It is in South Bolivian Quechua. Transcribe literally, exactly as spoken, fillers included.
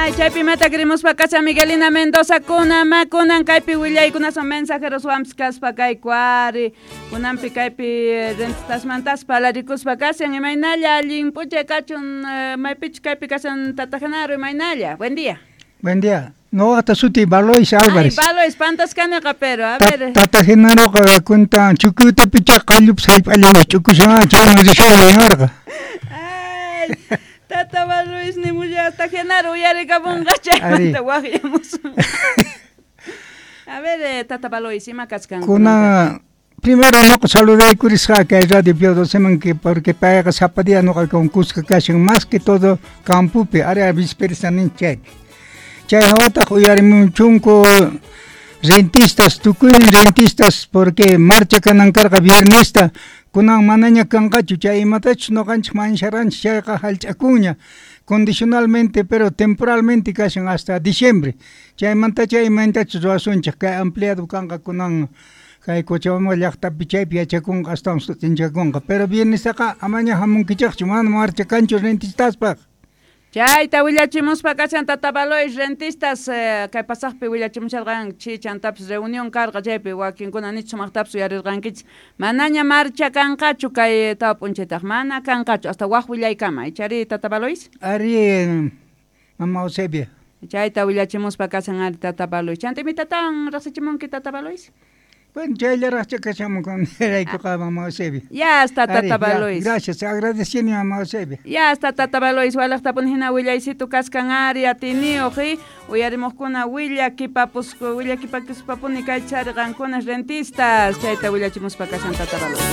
Ay, chaypi imata kirimuspa kashan Miguelina Mendoza kunan ma kunan kaypi willaykunason mensajeros wampis kaspa kayku ari kunanpi kaypi rentistasmantas parlarikuspa kashan imaynalla allin p'unchay kachun maypichus kaypi kashan Tata Genaro imaynalla. Buen día. Buen día. Noqata suti Balois Álvarez. Ay, Balois, pantasqaniqa pero, a ver. Tata Genaroqa kuntan chukutapicha qallupis hallp'allawan ch'ukushan chayman rishani niwarqa. Ay, Tata Balois nimullata Genaro uyarikamunqa chaymanta waqyamusun. A ver, eh, Tata Balois, ima kachkan? Kuna primero noqa saludaykurisqa kay Radio Pío Doceman que porque payqa sapa día noqa con kuska kashan más que todo campopi área visperista nin chaypi. Chay hawataq uyarimunchunku rentistas, tukuy rentistas porque marcha kanan karqa viernesta kunan manaña kanqachu chay imatachus noqanchik mansharanchik chayqa hallch'akunña condicionalmente pero temporalmente kashan hasta diciembre chaymanta chay imaynatachus ruwasunchik kay ampliado kanqa kunan kay Cochabamba llaqtapi chaypi yachakunqa astawan sut'inchakunqa pero viernestaqa amaña hamunkichikchu mana marcha kanchu rentistaspaq. Chayta willachimuspa kashan Tata Balois rentistas eh, kay pasaqpi willachimusharqanchik chantapis reunión karqa chaypi wakinkuna nichu sumaqtapis uyarirqankichik manaña marcha kanqachu kay tawa p'unchaytaq mana kanqachu hasta waq willaykama ichari Tata Balois. Ari mama Eusebia. Chayta willachimuspa kashan ari Tata Balois. Chanta imitatawan riqsichimunki Tata Balois? Bueno, chayllaraqcha kashamun raykuqa mama Eusebia. Ya está Tata Balois. Gracias, agradeciendo mama Eusebia. Ya está Tata Balois, walaqtapuni hina willaysitu kaskan ari atiniyuq y uyarimuqkuna willakipapusku willakipakuspapuni kaychari qankuna rentistas chayta willachimuspa kashan Tata Balois.